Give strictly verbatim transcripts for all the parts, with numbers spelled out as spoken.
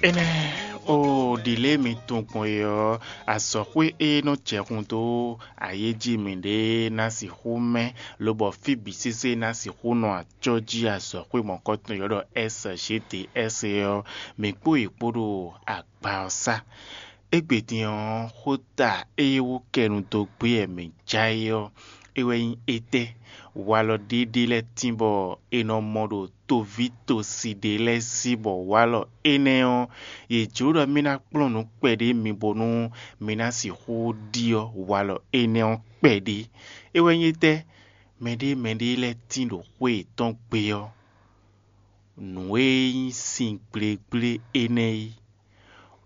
Énɛ́ ó, ɖi lě e mi tunwun gbɔn é ɔ́, azɔ̌xwé e nɔ jɛ hun dó ayéjí mǐɖée ná sixú mɛ, lobɔ fí bǐ sésé ná sixú nɔ acɔ́ jí azɔ̌xwé mɔ̌kɔtɔn e ylɔ́ ɖɔ S G D S é ɔ́, mǐ kpó yě kpó ɖo agba ɔ́ sá. Égbé din ɔ́, xóta e wú kɛnu dó gbé wɛ mǐ já é ɔ́, é wɛ nyí étɛ́? Walɔ ɖéɖé lɛ́ɛ tín bɔ è nɔ mɔ ɖo toví tosi ɖé lɛ́ɛ sí, bɔ walɔ énɛ́ ɔ́, yě jló ɖɔ mì ná kplɔ́n nǔ kpɛɖé mi bónú mi ná sixú ɖyɔ́ walɔ énɛ́ ɔ́ kpɛɖé. É wɛ nyí étɛ́? Mɛɖé mɛɖé lɛ́ɛ tín ɖo xwé yětɔn gbe ɔ́, nǔ e nyí sin gblégblé énɛ́ é,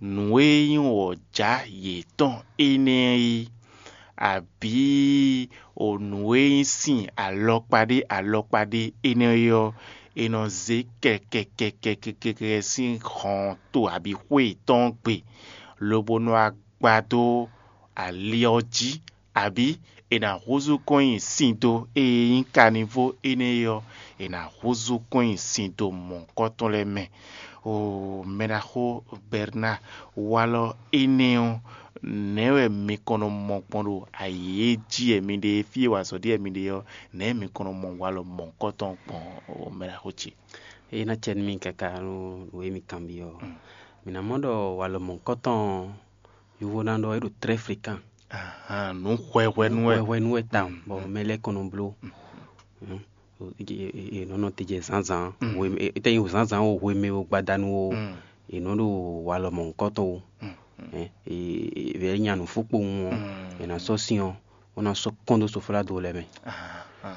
nǔ e nyí wɔ̌jǎ yětɔn énɛ́ é, abǐ o nǔ e nyí sin alɔkpa ɖé alɔkpa ɖé énɛ́ é ɔ́, è nɔ zé kɛkɛkɛkɛkɛkɛ sín hɔn to abǐ xwé yětɔn gbe, lobo nɔ wá gba dó ali ɔ́ jí, abǐ è nǎ húzú kɔn nyi sin do e nyí kanivó énɛ́ é ɔ́, è nǎ húzú kɔn nyi sin do mɔ̌hunkɔtɔn lɛ́ɛ mɛ. Oo, mɛɖaxó Bɛrnáa, walɔ énɛ́ ɔ́, nɛ̌ wɛ mi kɔn nɔ mɔ gbɔn ɖo ayǐ e jí wɛ mi ɖe, fí e wa azɔ̌ ɖe wɛ mi ɖe ɔ́, nɛ̌ mi kɔn nɔ mɔ walɔ mɔ̌hunkɔtɔn gbɔn, oo, mɛɖaxó ce? É ná cɛ nú mi káká nú nǔ e mi kanbyɔ́ ɔ́. Mǐ ná mɔ ɖɔ walɔ mɔ̌hunkɔtɔn ɔ́, yovo ná ɖɔ é ɖo très fréquent. Ahan, nǔ hwɛhwɛ nú wɛ. Hwɛhwɛ nú wɛ tawun, bɔ mɛ lɛ́ɛ kɔn nɔ bló. È nɔ nɔ te jɛ zǎnzǎn, hwemɛ, é tɛ́ nyí zǎnzǎn o, hwemɛ o, gbadanu o, è nɔ ɖo walɔ mɔ̌hunkɔtɔn o. Vɛ̌ nya nǔ fú kpowun ɔ́, è nǎ sɔ́ sin ɔ́, bó ná sɔ́ kɔn dó soflado lɛ́ɛ mɛ.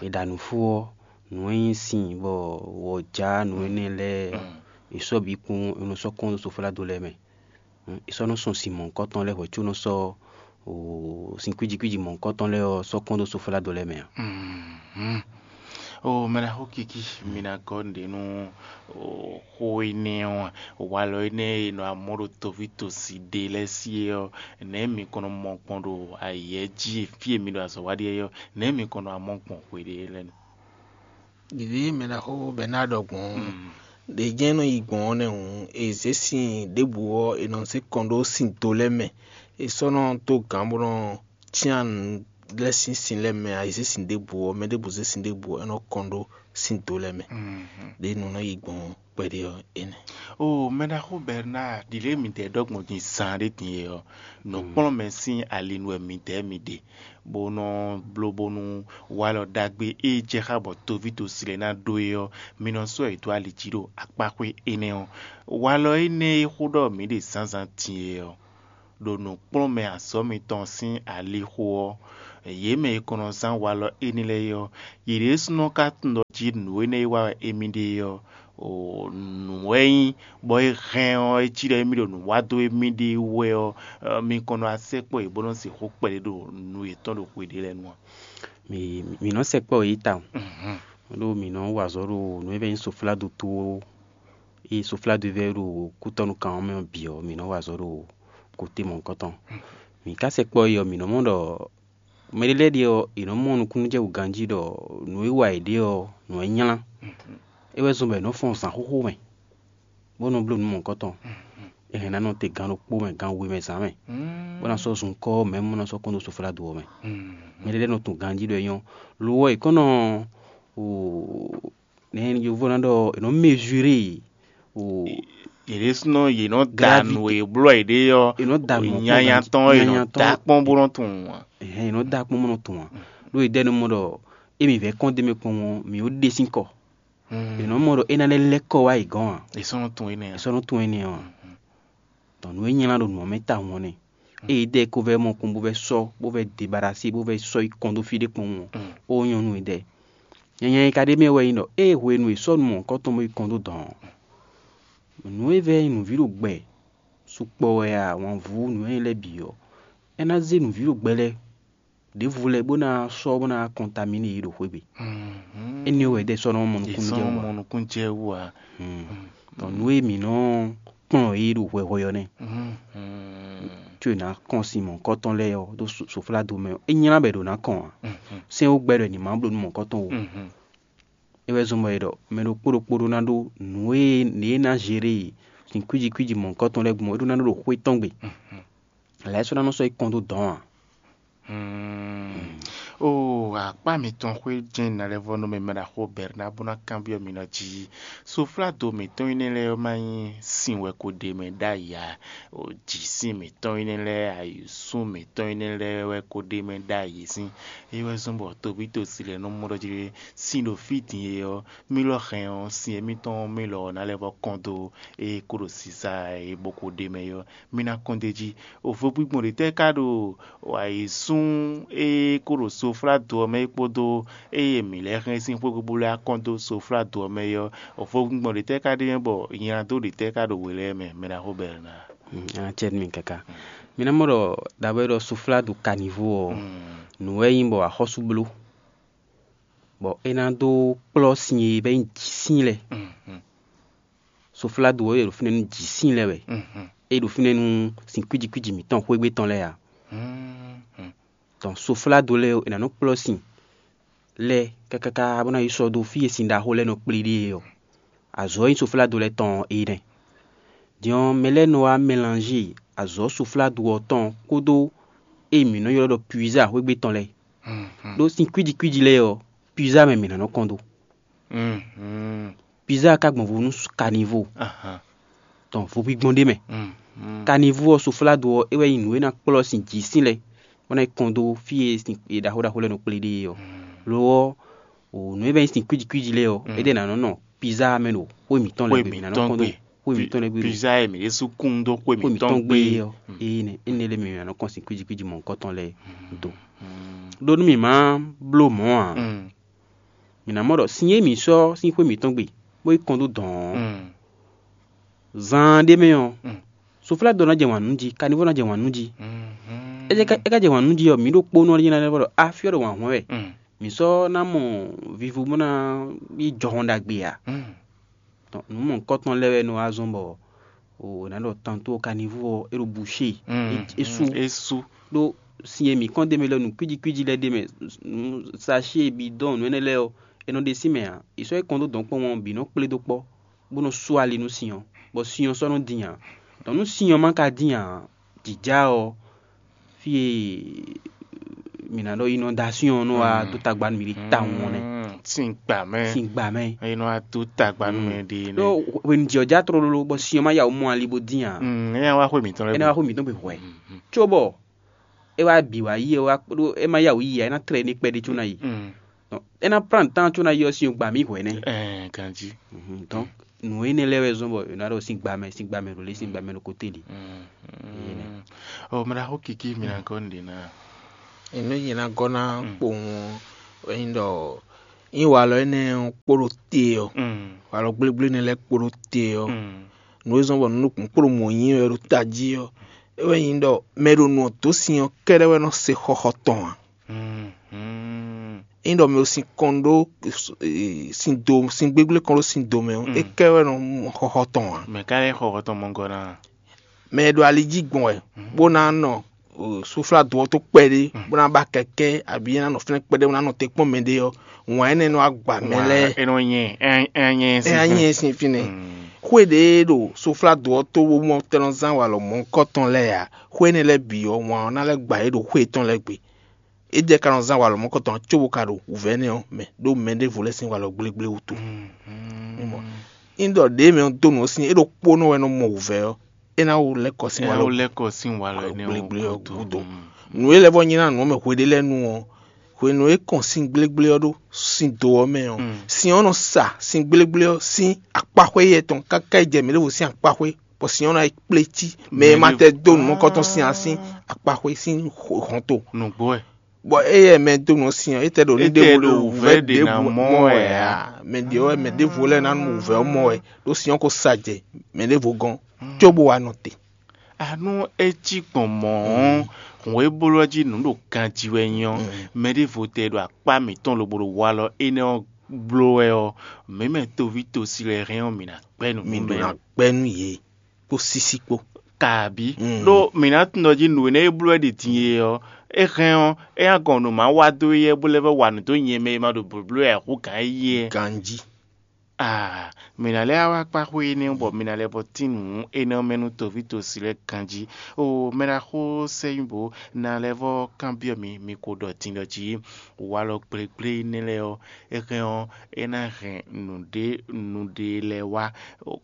È ɖa nǔ fú ɔ́, nǔ e nyí sin bɔ wɔ̌jǎ nǔ énɛ́ lɛ́ɛ, è sɔ́ bǐ kpowun, è nɔ sɔ́ kɔn dó soflado lɛ́ɛ mɛ. È sɔ́ nɔ sɔn sin mɔ̌hunkɔtɔn lɛ́ɛ hwɛ̌ có nɔ sɔ́ sin kwíji kwíji mɔ̌hunkɔtɔn lɛ́ɛ ɔ́ sɔ́ kɔn dó soflado lɛ́ɛ mɛ ǎ. Oo, mɛ ná xó kiki, mi ná gɔ́ nǔɖé nú xó énɛ́ ɔ́, walɔ énɛ́ e nɔ amɔ́ ɖo toví tosi ɖe lɛ́ɛ sí é ɔ́, nɛ̌ mi kɔn nɔ mɔ gbɔn ɖo ayǐ jí e fí e mi ɖo azɔ̌ wa ɖe é ɔ́, nɛ̌ mi kɔn nɔ amɔ́ gbɔn hweɖé lɛ́ɛ nu? Ɖiɖi mɛ ná xó bɔ é ná ɖɔ gbɔn ɖě jɛ́n nɔ yi gbɔn ɔ́ nɛ́ hǔn, è zě sin ɖěbǔ ɔ́, è nɔ zé kɔn ɖó sin do lɛ́ɛ mɛ. È sɔ́ nɔ dó gǎn bó nɔ cyán nǔ lɛ́ɛ sín sin lɛ́ɛ mɛ ǎ. È zě sin ɖěbǔ ɔ́, mɛ ɖěbǔ zé sin ɖěbǔ ɔ́, é nɔ kɔn ɖó sin do lɛ́ɛ mɛ. Ɖě nǔ nɔ yi gbɔn kpɛɖé ɔ́, énɛ́. Oo, mɛɖaxó Bɛrnáa, ɖi lě e mǐdɛɛ ɖɔ gbɔn din zaan ɖé din é ɔ́, nǔkplɔ́nmɛ sín ali nu wɛ mǐdɛɛ mi ɖe, bó nɔ bló bónú walɔ ɖagbe e jɛ xá bɔ toví tosi lɛ́ɛ ná ɖó é ɔ́, mi nɔ sɔ́ yě dó ali jí ɖo akpáxwé énɛ́ ɔ́. Walɔ énɛ́ e xó ɖɔ mǐ ɖe zǎnzǎn din é ɔ́, ɖo nǔkplɔ́nmɛ azɔ̌ mitɔn sín alixo ɔ́, yě mɛ e kɔn nɔ zán walɔ énɛ́ lɛ́ɛ é ɔ́, yě ɖésúnɔ ka tunwun ɖɔ jí nǔ énɛ́ e wa wɛ émí ɖe é ɔ́, nǔ wɛ nyí, bɔ é hɛn ɔ́, é cí ɖɔ émí ɖo nǔ wa dó émí ɖée wú wɛ ɔ́, mi kɔn nɔ wá sɛkpɔ́ yě bó nɔ́ sixú kpɛɖé ɖo nǔ yětɔn ɖo xwe ɖé lɛ́ɛ nu ǎ. Mǐ mǐ nɔ sɛkpɔ́ yě tawun, ɖó mǐ nɔ wa azɔ̌ ɖo nǔ e vɛ́ nyí soflado tó ɔ́, ée soflado vɛ́ ɖo kútɔ́nú kan ɔ́ mɛ ɔ́ bǐ ɔ́, mǐ nɔ wa azɔ̌ ɖo kotɛ́ mɔ̌hunkɔtɔn. Mǐ ka sɛkpɔ́ yě ɔ́, mǐ nɔ mɔ ɖɔ mɛɖé lɛ́ɛ ɖíe ɔ́, è nɔ mɔ nukúnnú jɛ wǔ ganjí ɖɔ nǔ e wa yě ɖe ɔ́, nǔ e nylá. É wɛ zɔ́n bɔ è nɔ fɔ́n zǎn xóxó mɛ, bó nɔ bló nǔ mɔ̌hunkɔtɔn. È hɛn ná nɔ te gan ɖokpó mɛ, gan we mɛ zǎn mɛ, bó ná sɔ́ zunkɔ́ ɔ́ mɛ, bó ná sɔ́ kɔn dó soflado ɔ́ mɛ. Mɛɖé lɛ́ɛ nɔ tunwun ganjí ɖɔ é nyɔ́. Lo ɔ́, è kɔn nɔ nɛ̌ yovó ná ɖɔ, è nɔ mezuré o. Yě ɖésúnɔ yě nɔ da nǔ e bló yě ɖe ɔ́, è nɔ da nǔ nyanya tɔn, è nɔ da kpɔ́n bó nɔ tunwun ǎ. Ɛhɛn, è nɔ da kpɔ́n bó nɔ tunwun ǎ. Ɖó è ɖɔ nú mɔ ɖɔ émi vɛ̌ kɔn d'é mɛ kpɔ́n ɔ́, mǐ ó ɖe sín kɔ. È nɔ mɔ ɖɔ é ná lɛ́ lɛ́ kɔ wá yě gɔ́n ǎ. È sɔ́ nɔ tunwun énɛ́ ǎ. È sɔ́ nɔ tunwun énɛ́ ɔ́ ǎ. Tɔn nǔ e nylá ɖo nǔ ɔ́ mɛ tawun ɔ́ nɛ́. Ée é ɖɔ é ko vɛ́ mɔ kpɔ́n bó vɛ́ sɔ́, bó vɛ́ debalasi, bó vɛ́ sɔ́ yi kɔn dó fí ɖé kpɔ́n ɔ́, ó nyɔ́ nú éɖɛ́. Nyanya e ka ɖ'é mɛ wɛ nyí ɖɔ ée hwenu e è sɔ́ nǔ mɔ̌hunkɔtɔn bó yi kɔn dó dɔ̌n ɔ́, nǔ e vɛ́ nyí nǔví ɖo gbɛ sukpɔ wɛ a, wǎnvú, nǔ e nyí lɛ́ɛ bǐ ɔ́, é ná zé nǔví ɖo gbɛ lɛ́ɛ ɖěvo lɛ́ɛ bó ná sɔ́ bó ná kɔntamíné yě ɖo xwé gbe. Énɛ́ wɛ ɖɛ sɔ́ nɔ mɔ nukúnnú jɛ wú ǎ. Tɔ nǔ e mǐ nɔ kplɔ́n yě ɖo hwɛhwɛ ɔ́ nɛ́. Có è nǎ kɔn sin mɔ̌hunkɔtɔn lɛ́ɛ ɔ́ dó soflado mɛ ɔ́, é nylá bɔ è ɖǒ ná kɔn ǎ. Sɛ́n ó gbɛ́ ɖɔ è ní má bló nú mɔ̌hunkɔtɔn ó. É wɛ zɔ́n bɔ è ɖɔ mɛ ɖokpó ɖokpó ɖó ná ɖó nǔ e nǐ e ná zeré e sin kwíji kwíji mɔ̌hunkɔtɔn lɛ́ɛ gbɔn é ɖó ná nɔ ɖo xwé tɔn gbe. Lɛ̌ sɔ́ ná nɔ sɔ́ yi kɔn dó dɔ̌n ǎ. Oo, akpá mitɔn xwé jɛ́n nalɛ́vɔ́nú mɛ mɛ ɖaxó Bɛrná bó ná kanbyɔ́ mi nɔ jí. Sofládo mǐtɔn énɛ́ lɛ́ɛ ɔ́ má nyí sin wɛ ko ɖe mɛ ɖ'ayǐ ǎ. Jǐsin mǐtɔn énɛ́ lɛ́ɛ, ayǐsún mǐtɔn énɛ́ lɛ́ɛ wɛ ko ɖe mɛ ɖ'ayǐ sín. É wɛ zɔ́n bɔ toví tosi lɛ́ɛ nɔ mɔ ɖɔ jí ɖé sin ɖo fí din e ɔ́, mí lɔ hɛn ɔ́, sin émítɔn mí lɔ ɔ́ ná lɛ́ vɔ́ kɔn dó ée kó ɖo sisa e bó ko ɖe mɛ é ɔ́, mí ná kɔn d'é jí. Vo gbígbɔn ɖě tɛ́ ka ɖo ayǐsún e kó ɖo sofládo ɔ́ mɛ é kpódó ée mǐ lɛ́ hɛn sín xwé bó lɛ́ kɔn dó sofládo ɔ́ mɛ é ɔ́, vo gbígbɔn ɖě tɛ́ ka ɖe mɛ bɔ nylado ɖě tɛ́ ka ɖo we lɛ́ɛ mɛ, mɛ ná xo bɛlɛ ná. Acɛ́ mi káká. Mi ná mɔ ɖɔ ɖaɖó e ɖɔ sofládo kanivó ɔ́, nǔ wɛ nyí bɔ axɔ́sú bló, bɔ é ná dó kplɔ́ sin e bɛ́ nyí jǐsin lɛ́ɛ. Sofládo ɔ́ e ɖo fínɛ́ nú jǐsin lɛ́ɛ wɛ, é ɖo fínɛ́ nú sin kwíji kwíji mǐtɔn xwégbé tɔn lɛ́ɛ ǎ. Tɔn sofládo lɛ́ɛ ɔ́, è nǎ nɔ kplɔ́ sin lɛ́ɛ káká bó ná yi sɔ́ dó fí e sin ɖaxó lɛ́ɛ nɔ kplé ɖe é ɔ́. Azɔ̌ e nyí sofládo lɛ́ɛ tɔn ɔ́ é nɛ́. Din ɔ́, mɛ lɛ́ɛ nɔ wá mɛlanzé azɔ̌ sofládo ɔ́ tɔn kpódó e mǐ nɔ ylɔ́ ɖɔ puiza xwégbé tɔn lɛ́ɛ. Ɖó sin kwíji kwíji lɛ́ɛ ɔ́, puiza mɛ mǐ ná nɔ kɔn dó. Puiza ka gbɔn vo nú kanivó. Tɔn vo gbígbɔn ɖé mɛ. Kanivó ɔ́, sofládo ɔ́, é wɛ nyí nǔ e ná kplɔ́ sin jǐ sín lɛ́ɛ bó ná yi kɔn dó fí e sin e ɖaxó ɖaxó lɛ́ɛ nɔ kplé ɖe é ɔ́. Lo ɔ́, nǔ e bɛ́ nyí sin kwíji kwíji lɛ́ɛ ɔ́, é ɖe ná nɔ nɔ pizza mɛ ɖo xwé mǐtɔn lɛ́ɛ gbe mǐ ná nɔ kɔn dó xwé mǐtɔn lɛ́ɛ gbe. Pizza e mǐ ɖésú kún dó xwé mǐtɔn gbe é ɔ́, énɛ́ énɛ́ lɛ́ɛ mɛ mǐ ná nɔ kɔn sin kwíji kwíji mɔ̌hunkɔtɔn lɛ́ɛ dó. Ɖó nú mǐ má bló mɔ̌ ǎ, mǐ ná mɔ ɖɔ sin e mǐ sɔ́ sín xwé mǐtɔn gbe bó yi kɔn dó dɔ̌n ɔ́, zaan ɖé mɛ ɔ́, soflá dó ná jɛ wǎn nú jí, kanivó ná jɛ wǎn nú jí. É ka jɛ wǎn nú jí ɔ́, mǐ ɖo kpónɔ ɔ́ nyí ná ɖɔ afyɔ́ ɖo wǎn hwɛ́n wɛ. Mǐ sɔ́ ná mɔ vivo bó ná yi jɔhɔn ɖagbe ǎ. Nǔ mɔ̌hunkɔtɔn lɛ́ɛ wɛ nɔ wá zɔ́n bɔ è nǎ ɖɔ tanto kanivó ɔ́ é ɖo bouché, é sú. É sú. Ɖó sin e mǐ kɔn d'é mɛ lɛ́ɛ nǔ kwíji kwíji lɛ́ɛ d'é mɛ, nǔ sachet, bidɔn, nǔ énɛ́ lɛ́ɛ ɔ́, è nɔ ɖe sín mɛ ǎ. È sɔ́ yi kɔn dó dɔ̌nkpɔ́n ɔ́ bǐ nɔ kplé dó kpɔ́, bó nɔ sú ali nú sin ɔ́, bɔ sin ɔ́ sɔ́ nɔ dín ǎ. Dɔn nú sin ɔ́ ma ka dín ǎ, jǐjá ɔ́, fí e mǐ ná ɖɔ inondasyon ɔ́ nɔ wá dó tagba nú mǐ ɖi tawun ɔ́ nɛ́. Sin gbǎ mɛ. Sin gbǎ mɛ. É nɔ wá dó tagba nú mɛ ɖi. Ɖó hwenu jǐ ɔ́ já tlóló bɔ sin ɔ́ ma ya wǔ mɔ ali bó dín ǎ. É ná wá xwé mǐtɔn lɛ́ɛ. É ná wá xwé mǐtɔn gbe hwɛ. Cóbɔ é wá bǐ wá yi é wá ɖó é ma ya wǔ yi ǎ, é ná tlɛ ní kpɛɖé có ná yi. É ná plán tán có ná yi ɔ́ sin ɔ́ gba mǐ hwɛ̌ nɛ́. Ɛɛ ganjí. Donc nǔ énɛ́ lɛ́ɛ wɛ zɔ́n bɔ è nǎ ɖɔ sín gbamɛ sín gbamɛ ɖo lě sín gbamɛ ɖo kóté lě. Ɔ mɛ ɖaxó kiki mi ná gɔ́ nǔɖé ná. Enu nyí ná gɔ́ ná kpowun ɔ́, é nyí ɖɔ nyí walɔ énɛ́ ɔ́ kpo ɖo te ɔ́, walɔ gblégblé énɛ́ lɛ́ɛ kpo ɖo te ɔ́, nǔ e zɔ́n bɔ nǔ nukún kpo ɖo mɔ̌ nyi wɛ ɖo tají ɔ́, é wɛ nyí ɖɔ mɛ e ɖo nǔ ɔ́ dó sin ɔ́ kɛ́ɖɛ́ wɛ nɔ se xɔxɔ tɔn ǎ. Ényí ɖɔ mɛ e sin kɔn ɖó sin do sin gbégblékɔn ɖó sin do mɛ ɔ́, é kɛ wɛ nɔ mɔ xɔxɔ tɔn ǎ. Mɛ ka lɛ́ xɔ xɔtɔn mɔgɔ ná? Mɛ e ɖo ali jí gbɔn wɛ, bó ná nɔ suflá do ɔ́ tó kpɛɖé, bó ná ba kɛkɛ́, abǐ é ná nɔ fínɛ́ kpɛɖé, bó ná nɔ te kpɔ́n mɛɖé ɔ́, wǎn énɛ́ nɔ wá gba mɛ lɛ́ɛ. É nɔ nyɛ é é nyɛ É ná nyɛ sín fínɛ́. Xwé ɖě e ɖo soflá do ɔ́ tó bó mɔ tɛ́ nɔ zán walɔ mɔ̌hunkɔtɔn lɛ́ɛ ǎ. Xwé énɛ́ lɛ́ɛ bǐ ɔ́, wǎn ɔ́ ná lɛ́ gba yě ɖo xwé yětɔn lɛ́ɛ gbe. É jɛ ka nɔ zán walɔ mɔ̌kɔtɔn ǎ cóbó ka ɖo wǔvɛ́ nɛ́ ɔ́ mɛ ɖó mɛ ɖěvo lɛ́ɛ sín walɔ gblégblé wútu. Mɔ ényí ɖɔ ɖěe mɛ ɔ́ dó nǔ ɔ́ sín é ɖo kpónɔ wɛ nɔ mɔ wǔvɛ́ ɔ́, é ná wú lɛ́ kɔ sín walɔ lɛ́kɔ sín walɔ énɛ́ gblégblé ɔ́ gúdo. Nǔ e lɛ́ vɔ́ nyi ná nǔ ɔ́ mɛ hweɖé lɛ́ɛ nu ɔ́, hwenu e é kɔn sín gblégbléɔ ɖó sín do ɔ́ mɛ ɔ́, sin ɔ́ nɔ sa sín gblégbléɔ sín akpáxwé yɛ tɔn káká yi jɛ mɛ ɖěvo sín akpáxwé, bɔ sin ɔ́ ná yi kplé cí mɛ e ma tɛ dó nǔ mɔkɔtɔn sín ǎ sín akpáxwé sín hɔnto. Nǔgbó wɛ. Bɔ éyɛ́ mɛ dó nǔ ɔ́ sin ɔ́, étɛ́ ɖo ní Étɛ́ ɖěvo ɖo wǔvɛ́ ɖě ná mɔ wɛ ǎ. Mɛ ɖě wɛ mɛ ɖěvo lɛ́ɛ ná nu wǔvɛ́ ɔ́ mɔ wɛ, ɖó sin ɔ́ ko sa jɛ mɛ ɖěvo gɔ́n, cóbó wá nɔ te. Anú é cí gbɔn mɔ̌ ɔ́, hǔn e bló ɔ́ jí nǔ ɖo ganjí wɛ nyí ɔ́, mɛ ɖěvo tɛ ɖo akpá mǐtɔn lobo ɖo walɔ énɛ́ ɔ́ bló wɛ ɔ́, mǐ mɛ toví tosi lɛ́ɛ hɛn ɔ́, mǐ ná gbɛ́ nǔ mi ɖó ná gbɛ́ nú yě kpó sísí kpó. Kabí ɖó mǐ ná tunwun ɖɔ jí nǔ énɛ́ e bló wɛ ɖi din e ɔ́, é hɛn ɔ́, é ná gɔn nǔ ma wa dó éyɛ́ bó lɛ́ vɛ́ wa nǔ dó nyɛ mɛ e ma ɖo blǒbló wɛ ǎ hú gǎn éyɛ́. Ganjí. Ah, mǐ ná lɛ́ wá kpá xwé énɛ́ bɔ mǐ ná lɛ́ vɔ tín nǔ énɛ́ mɛ nú toví tosi lɛ́ɛ ganjí. O mɛɖaxó sɛ́nyíbo, ná lɛ́ vɔ kanbyɔ́ mi, mi ko ɖɔ din ɖɔ jí walɔ gblégblé énɛ́ lɛ́ɛ ɔ́, é hɛn ɔ́, é ná hɛn nǔɖé nǔɖé lɛ́ɛ wá,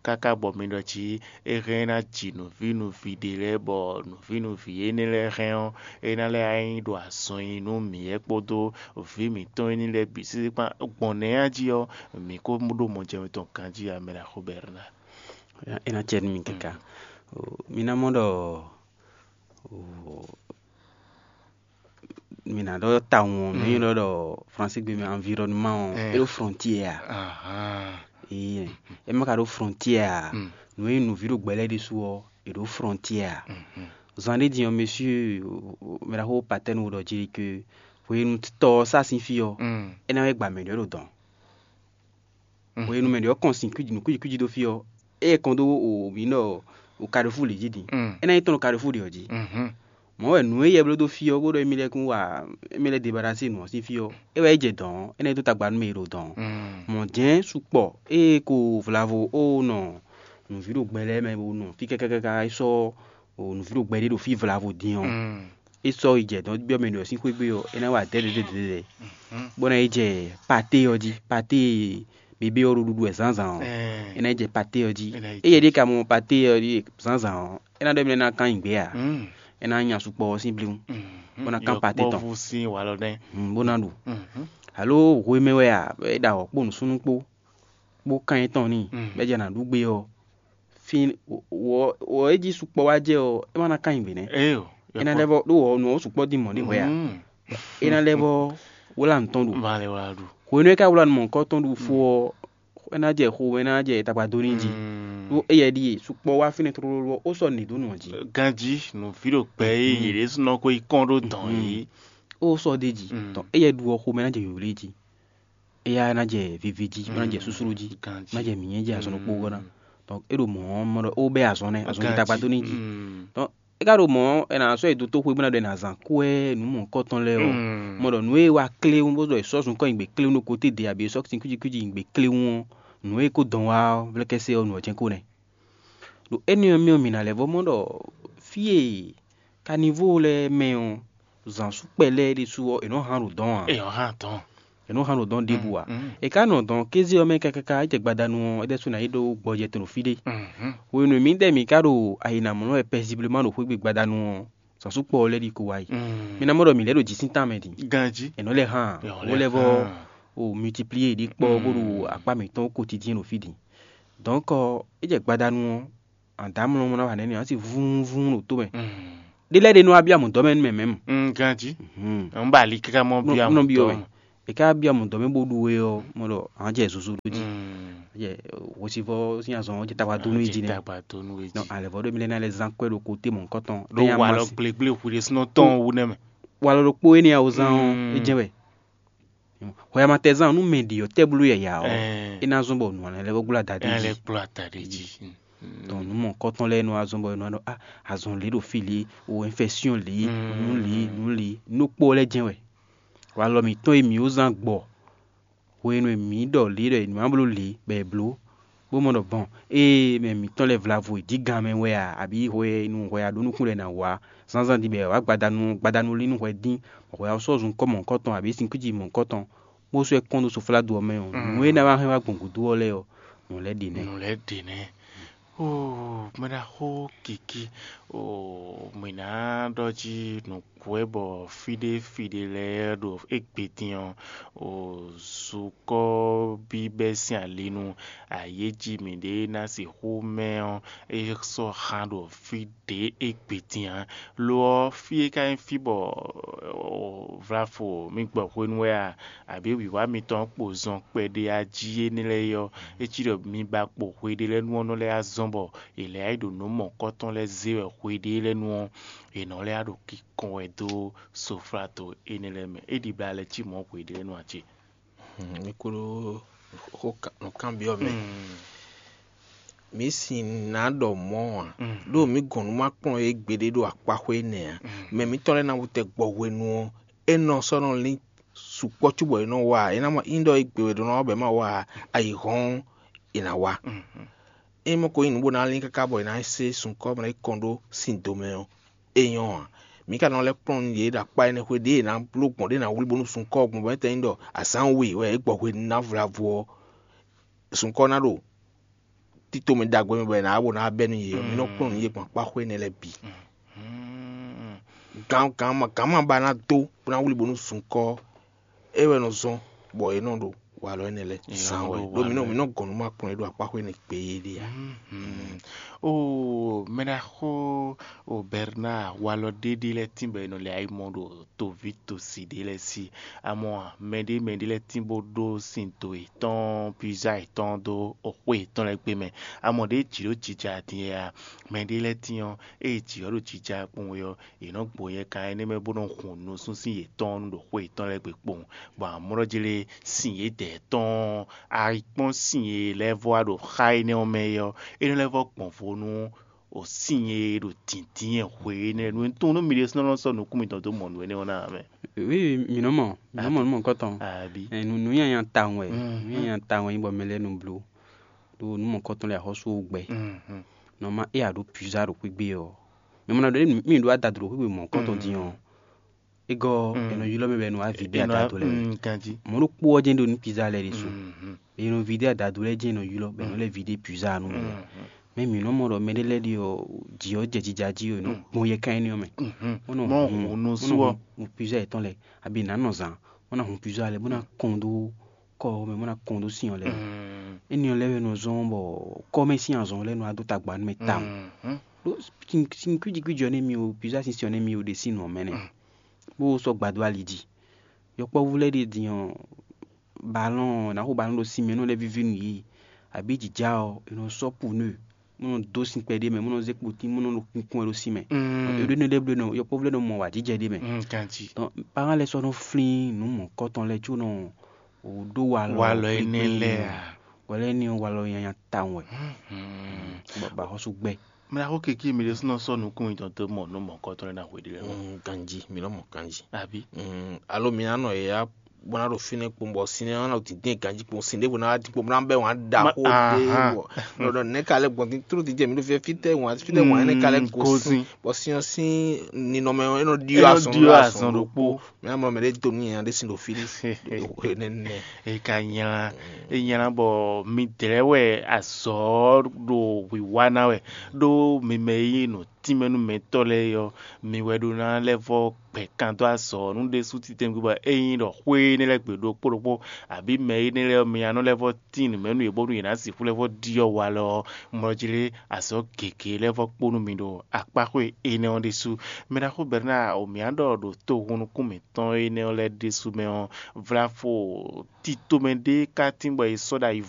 káká bɔ mi ɖɔ jí é hɛn é ná ji nǔví nǔví ɖé lɛ́ɛ, bɔ nǔví nǔví énɛ́ lɛ́ɛ hɛn ɔ́, é ná lɛ́ nyí ɖo azɔn nyi nú mǐ wɛ kpódó vǐ mǐtɔn énɛ́ lɛ́ɛ bǐ sísí kpán. Gbɔn nɛ̌ a jí ɔ́, mǐ ko ɖó mɔjɛmɛ tɔn ganjí ǎ, mɛ ná xo Bɛrna. É ná cɛ nú mi káká. Mi ná mɔ ɖɔ mi ná ɖɔ tawun ɔ́, mɛ nyɔ́ ɖɔ ɖɔ fransé gbe mɛ environnement ɔ́, é ɖo frontière a? Ee, é má ka ɖo frontière a? Nǔ e nyí nǔví ɖo gbɛ lɛ́ɛ ɖésú ɔ́, è ɖo frontière a? Zan ɖé din ɔ́, monsieur mɛ ɖaxó Patɛ́nu ɖɔ jí que hwenu tɔ ɔ́ sá sín fí ɔ́, é ná wɛ gba mɛ ɖě ɖo dɔn. Hwenu mɛ ɖě ɔ́ kɔn sin kwíji nǔ kwíji kwíji dó fí ɔ́, é kɔn dó o mǐ ɖɔ o Carrefour lě jí din. É ná nyí tɔn ɖo Carrefour ɖě ɔ́ jí. Mɔ̌ wɛ nǔ e yɛ bló dó fí ɔ́, bó ɖɔ émí lɛ́ kún wa émí lɛ́ debalasi nǔ ɔ́ sín fí ɔ́, é wɛ é jɛ dɔ̌n ɔ́, é ná nyí dó tagba nú mɛ e ɖo dɔ̌n ɔ́. Mɔ̌ jɛ́n sukpɔ ée ko vlavo ó nɔ nǔví ɖo gbɛ lɛ́ɛ mɛ bó nɔ fí káká é sɔ́ nǔví ɖo gbɛ ɖé ɖo fí vlavo din ɔ́, é sɔ́ yi jɛ dɔ̌n byɔ́ mɛ ɖě ɔ́ sín xwé gbe ɔ́, é ná wa dɛ̌dɛ̌dɛ̌dɛ̌, bó ná yi jɛ paté ɔ́ jí. Paté e bebé ɔ́ ɖo ɖuɖu wɛ zǎnzǎn ɔ́, é ná yi jɛ paté ɔ́ jí. Éyɛ́ ɖíe ka mɔ paté ɔ́ ɖíe zǎnzǎn ɔ́, é ná ɖɔ émí lɛ́ɛ ná kán nyi gbě ǎ. É ná nya sukpɔ ɔ́ sín blíwún, bó ná kán paté tɔn. Yɔkpɔ́vú sín walɔ nɛ́. Bó ná ɖu. Alo hwemɛ wɛ a, bɔ é ɖo awɔ̌ kpó nǔsúnnú kpó, kpó kan yětɔn n'i, bɔ é jɛ nǎ ɖu gbé ɔ́, fí wɔ wɔ é jí sukpɔ wá jɛ ɔ́, é ma ná ká nyi gbě nɛ́. Éyo. É ná lɛ́ vɔ ɖó wɔ nǔ ɔ́ sukpɔ dín mɔ̌ ɖé hwɛ a? É ná lɛ́ vɔ wlá nǔ tɔn ɖu. Má lɛ wá ɖu. Hwenu e é ka wlá nǔ mɔ̌hunkɔ tɔn ɖu fó ɔ́, é ná jɛ xo, é ná jɛ tagba dó n'i jí. Ɖó éyɛ́ ɖíe sukpɔ wá fínɛ́ tlóló ɔ́, ó sɔ́ nǔ ɖě dó nǔ ɔ́ jí. Ganjí nǔví ɖo gbɛ e yě ɖésúnɔ ko yi kɔn ɖó dɔn yě. Ó sɔ́ ɖ'é jí. Tɔn éyɛ́ ɖu ɔ́, xomɛ ná jɛ wěwlé jí. Éyɛ́ ná jɛ vivi jí, bó ná jɛ súsúlú jí, bó ná jɛ mǐnyɛ́ jí, azɔn ɖokpó ɔ́ ná. Donc é ɖo mɔ̌ ɔ́, mɔ ɖɔ ó bɛ́ azɔn nɛ́, azɔn ɖo tagba dó n'i jí. Donc é ka ɖo mɔ̌ ɔ́, è nǎ sɔ́ yi dó toxo e bó ná ɖɔ è nǎ zán kú wɛ nǔ mɔ̌hunkɔtɔn lɛ́ɛ ɔ́, mɔ ɖɔ nǔ e wa kléwún bó ɖɔ è sɔ́ zunkɔ́ nyi gbě kléwún ɖo kóté ɖě, abǐ è sɔ́ sinkúnjíkúnjí nyi gbě kléwún ɔ́, nǔ e ko dɔn wá ɔ́, vlɛ́kɛ́sɛ ɔ́, nǔ ɔ́ jɛ́n ko nɛ́. Ɖo énɛ́ ɔ́ mɛ ɔ́, mǐ ná lɛ́ vɔ́ mɔ ɖɔ fí e kanivó lɛ́ɛ mɛ ɔ́, zǎnsúkpɛ lɛ́ɛ ɖésú ɔ́, è nɔ́ hán ɖo dɔ̌n ǎ. È nɔ́ hán dɔ̌n. È nɔ́ hán ɖo dɔ̌n ɖěbǔ ǎ. È ka nɔ dɔ̌n kéze ɔ́ mɛ káká é jɛ gbadanu ɔ́, é ɖésú ná yi ɖó gbɔjɛ tɔn ɖo fí ɖé. Hwenu e mǐdɛɛ mǐ ka ɖo ayǐ ná mlɔ́ wɛ pɛziblemá ɖo xwé gbe gbadanu ɔ́, zǎnsúkpɔ ɔ́ lɛ́ ɖi ko wá yi. Mi ná mɔ ɖɔ mǐ lɛ́ ɖo jǐ sín tánmɛ din. Ganjí. È nɔ lɛ́ hán ǎ. Wó lɛ́ vɔ o multiplier ɖě kpɔ́ bó ɖo akpá mǐtɔn ko tití ɖo fí din. Donc é jɛ gbadanu ɔ́, àdǎmlɔ́mlɔ́ ná wà nɛ́ n'i, á sì vúnvún ɖo tó mɛ. Ɖé lɛ́ɛ ɖe nɔ wá byɔ́ amǔdɔ́ mɛ nú mɛ mɛ̌mu. Ganjí. N ba ali káká mɔ byɔ́ amǔdɔ́ mɛ. È ká byɔ́ amǔdɔ́ mɛ bó ɖu we ɔ́, mɔ ɖɔ à jɛ zozo ɖó jí. Jɛ hwesivɔ́ sín azɔn ɔ́ jɛ tagba dó nú é jí nɛ́. Tagba dó nú é jí. Alɛ̌vɔ́ ɖé mi lɛ́ ná lɛ́ zán kwɛ́ ɖo kóté mɔ̌hunkɔtɔn. Ɖó walɔ gblégblé hwi ɖésúnɔ tɔn wú nɛ́ mɛ. Walɔ ɖokpó énɛ́ ɔ́ zán ɔ́, é jɛ́n wɛ. Hwɛamatɛzán nú mɛ ɖě ɔ́ tɛ́ bló yǎyá ɔ́, é ná zɔ́n bɔ nǔ lɛ́ɛ vɔ gbla da ɖé jí. Lɛ́ kplɔ́ ata ɖé jí. Dɔn nǔ mɔ̌hunkɔtɔn lɛ́ɛ nɔ wá zɔ́n bɔ è nɔ ɖɔ á, azɔn lě ɖo fí lě, o infɛsyɔn lě, nǔ lě, nǔ lě, nú kpó lɛ́ jɛ́n wɛ. Walɔ mǐtɔn e mǐ ó zán gbɔ hwenu e mǐ ɖɔ lě ɖɔ è nǐ ma bló lě bɔ è blǒ, bó mɔ ɖɔ gbɔn ée mɛ mǐtɔn lɛ́ɛ vlavo è jí gan mɛ wɛ a, abǐ hwenu hwɛ a ɖó nukún lɛ́ɛ ná wá zánzán din bɔ è wǎ gbadanu gbadanu lín nú hwɛ dín, bɔ hwɛ ɔ́ sɔ́ zun kɔ́ mɔ̌hunkɔtɔn abǐ sin kwíji mɔ̌hunkɔtɔn, bó sɔ́ ɛ kɔn ɖó sofladu ɔ́ mɛ ɔ́, nǔ e ná wá hɛn wá gbɔn gǔdo ɔ́ lɛ́ɛ ɔ́, nǔ lɛ́ɛ ɖe nɛ́. Nǔ lɛ́ɛ ɖe nɛ́. Oo, mɛ ɖaxó Kiki, oo, mǐ ná ɖɔ jí nǔkú wɛ bɔ fí ɖé fí ɖé lɛ́ɛ ɖo égbé din ɔ́, oo, zukɔ́ bíbɛ́ sín ali nú ayéjí mǐɖée ná sixú mɛ ɔ́, é sɔ́ xán ɖo fí ɖě égbé din ǎ. Lo ɔ́, fí e ka nyí fí bɔ vlafo mì gbɔ hwenu wɛ a, abǐ wǐwá mitɔn kpo zɔn kpɛɖé a jí énɛ́ lɛ́ɛ é ɔ́, é cí ɖɔ mi ba kpo hweɖé lɛ́ɛ nu ɔ́ nɔ lɛ́ azɔn bɔ è lɛ̌ yi ɖo nǔ mɔ̌kɔtɔn lɛ́ɛ zé wɛ hweɖé lɛ́ɛ nu ɔ́, è nɔ lɛ́ ɖo kíkɔn wɛ dó soflato énɛ́ lɛ́ɛ mɛ. É ɖibla lɛ́ɛ cí mɔ̌ hweɖé lɛ́ɛ nu ǎ cé? Mi kú ɖó nǔkanbyɔ́ mɛ. Mǐ sin ná ɖɔ mɔ̌ ǎ, ɖó mǐ gɔn nú ma kplɔ́n yě gbeɖé ɖo akpaxwé énɛ́ ǎ. Mɛ mǐtɔn lɛ́ɛ ná wú tɛ gbɔ hwenu ɔ́, é nɔ sɔ́ nɔ lín sukpɔ́ cóbɔ è nɔ wa ǎ. É ná ma nyí ɖɔ é gbe wɛ ɖó ná wa bɔ é ma wa ǎ, ayǐhɔ́n ɔ́, è nǎ wa. Ényí mɔ ko nyí nǔ bó ná lín káká bɔ è nǎ se sunkɔ́ bɔ è nǎ yi kɔn ɖó sin do mɛ ɔ́, é nyɔ́ ǎ. Mǐ ka nɔ lɛ́ kplɔ́n nú yě ɖo akpá énɛ́ xwé ɖě è nǎ bló gbɔn ɖě è nǎ wlí bónú sunkɔ́ ɔ́ gbɔn bɔ é tɛ́ nyí ɖɔ azǎn we wɛ é gbɔ hwenu ná vlavo ɔ́, sunkɔ́ ná ɖo tito mɛ ɖagbe mɛ bɔ è nǎ wá bó ná wá bɛ́ nú yě ɔ́, mǐ nɔ kplɔ́n nǔ yě gbɔn akpá xwé énɛ́ lɛ́ɛ bǐ. Gǎn gǎn ma gǎn ma ba ná dó bó ná wlí bónú sunkɔ́ é wɛ nɔ zɔ́n bɔ è nɔ ɖo walɔ énɛ́ lɛ́ɛ zán wɛ ɖó mǐ nɔ mǐ nɔ gɔn nú ma kplɔ́n é ɖo akpá xwé énɛ́ gbe é ɖe ǎ. O mɛɖaxó o Bernard, walɔ ɖéɖé lɛ́ɛ tín bɔ è nɔ lɛ ayimɔ ɖo toví tosi ɖé lɛ́ɛ sí. Amɔ mɛɖé mɛɖé lɛ́ɛ tín bó ɖó sin do yětɔn pizza yětɔn dó xwé yětɔn lɛ́ɛ gbe mɛ. Amɔ ɖěe jǐ ɖó jija din é a? Mɛɖé lɛ́ɛ tín ɔ́, ée jǐ ɔ́ ɖo jija kpɔ́n wɛ ɔ́, yě nɔ gbo yɛ kan énɛ́ mɛ bó nɔ hun nusúnsín yětɔn nú ɖo xwé yětɔn lɛ́ɛ gbe kpowun, bɔ amlɔ́ jlé sin yědɛɛ tɔn ɔ́, a yi kpɔ́n sin e lɛ́ vɔ wá ɖo xá énɛ́ ɔ́ mɛ é ɔ́, é nɔ lɛ́ vɔ gbɔn vo nú o sin e ɖo dǐndín hwe énɛ́ nú tɔn nú mi ɖésú nɔ sɔ́ nukún mitɔn dó mɔ nǔ énɛ́ ɔ́ ná ǎ mɛ. Wi, mǐ nɔ mɔ mǐ nɔ mɔ nukɔntɔn. Àbí? Nǔ nyanya tawun wɛ, Mm. Nǔ nyanya tawun wɛ nyí bɔ mɛ lɛ́ɛ nɔ bló ɖó nǔ mɔkɔntɔn lɛ́ɛ axɔ́sú ó gbɛ. Mhm. Nɔ ma é a ɖó puza ɖo xwé gbé ɔ́, mɛ mɔ na ɖɔ mí ɖó adadu ɖo xwé gbé mɔkɔntɔn din ɔ́, é gɔ́ Mm. è nɔ ylɔ́ mɛ bɔ è nɔ wá vidé Enɔ adadu lɛ́ɛ. mm, ganji. Mɔ̌ ɖokpó ɔ́ jɛ́n ɖo nú puza lɛ́ɛ ɖésú. Mhm. È nɔ vidé adadu lɛ́ɛ jɛ́n è nɔ ylɔ́ bɔ è nɔ lɛ́ vidé puza nú mɛ lɛ́ɛ. Mhm. Mɛ mǐ nɔ mɔ ɖɔ mɛɖé lɛ́ɛ ɖi ɔ jǐ ɔ́ jɛ jija jí ɔ è nɔ gbɔn yɛ kan énɛ́ ɔ́ mɛ. Mhm. Wọ́n nɔ Mɔ hun hun nú wọ́n sú nɔ ɔ. hun plusieurs étant lɛ abi nǎ nɔ zǎn wọ́n ná hun plusieurs alɛ bó ná kɔn dó kɔ ɔ́ mɛ bó ná kɔn dó sin ɔ́ lɛ́ɛ. Mhm. Éni ɔ́ lɛ́ɛ wɛ nɔ zɔ́n bɔ kɔ́mɛ sín azɔn lɛ́ɛ nɔ wá dó tagba nú mɛ tawun. Mhm. Ɖó sin sin kwíji kwíji ɔ́ nɛ́ mi o plusieurs sin sin ɔ́ nɛ́ mi o ɖe sín nǔ ɔ́ mɛ nɛ́. Bó sɔ́ gbadó ali jí. Yɔkpɔ́vú lɛ́ɛ ɖe din ɔ́ balɔn ɔ́ ná xo balɔn ɖo sin mɛ nú lɛ́ víví nǔ yí abǐ jǐjá ɔ́ è nɔ sɔ́ pneu bó nɔ dó sin kpɛɖé mɛ bó nɔ zé kpotín bó nɔ ɖo kunkun wɛ ɖo sin mɛ. Mm. Ɖó énɛ́ lɛ́ɛ bló nɔ yɔkpɔ́vú lɛ́ɛ nɔ mɔ wǎjijɛ ɖé mɛ. Mm, ganji. Donc parents lɛ́ɛ sɔ́ nɔ flín nǔ mɔ̌kɔtɔn lɛ́ɛ có nɔ wò ɖó walɔ Walɔ énɛ́ lɛ́ɛ a? Walɔ énɛ́ ɔ́ walɔ nyanya tawun wɛ. Mhm. Bɔ bɔ axɔ́sú gbɛ. Mla xó keke mi ɖésú nɔ sɔ́ nukún mitɔn dó mɔ nú mɔ̌kɔtɔn lɛ́ɛ ná hwe ɖé lɛ́ɛ. Mm, ganji mǐ nɔ mɔ ganji. Àbí? Mm, alo mǐ ná nɔ yě ya bó ná ɖo fínɛ́ kpowun bɔ sin ɔ́ ná ɖo dǐndín ganjí kpowun sin ɖěvo ná wá dín kpowun bó ná bɛ́ wǎn ɖaxó ɖé Ahan. Wɔ nɔ ɖɔ nɛ̌ ka lɛ́ gbɔn dín tró dín jɛ mǐ ɖo fífẹ́ fítɛ́ wǎn fítɛ́ wǎn énɛ́ ka lɛ́ gosin bɔ sin ɔ́ sín ninɔmɛ ɔ́ é nɔ ɖyɔ́ Nɔ azɔn ɖyɔ́ ɖó azɔn azɔn ɖokpó. Ɖokpó. Mǐ ná mɔ mɛ ɖé dó nú nyanya ɖé sin ɖo fí ɖé nɛnɛ. E ka nylá e nylá bɔ mi dlɛ́ wɛ azɔ̌ ɖo wǐwá ná wɛ ɖó mi mɛ e nyí nǔ tínmɛ nú mɛtɔ́ lɛ́ɛ é ɔ́, mi wɛ ɖó ná lɛ́ vɔ́ gbɛ kan dó azɔ̌ nú ɖésú titɛngbé bɔ é nyí ɖɔ xwé énɛ́ lɛ́ɛ gbe ɖokpó ɖokpó, abǐ mɛ énɛ́ lɛ́ɛ ɔ́, mi ná nɔ lɛ́ vɔ́ tín nǔ mɛ nú yě bónú yě ná sixú lɛ́ vɔ́ ɖyɔ́ walɔ ɔ́, mlɔjlé azɔ̌ gěgé lɛ́ vɔ́ kpó nú mi ɖo akpáxwé énɛ́ ɔ́ ɖésú. Mɛ ɖaxó Bɛrnáa, mǐ ná ɖɔ ɖo tohunnukún mǐtɔn énɛ́ ɔ́ lɛ́ɛ ɖésú mɛ ɔ́, vlafo titomɛ ɖé ka tín bɔ è sɔ́ ɖo ayi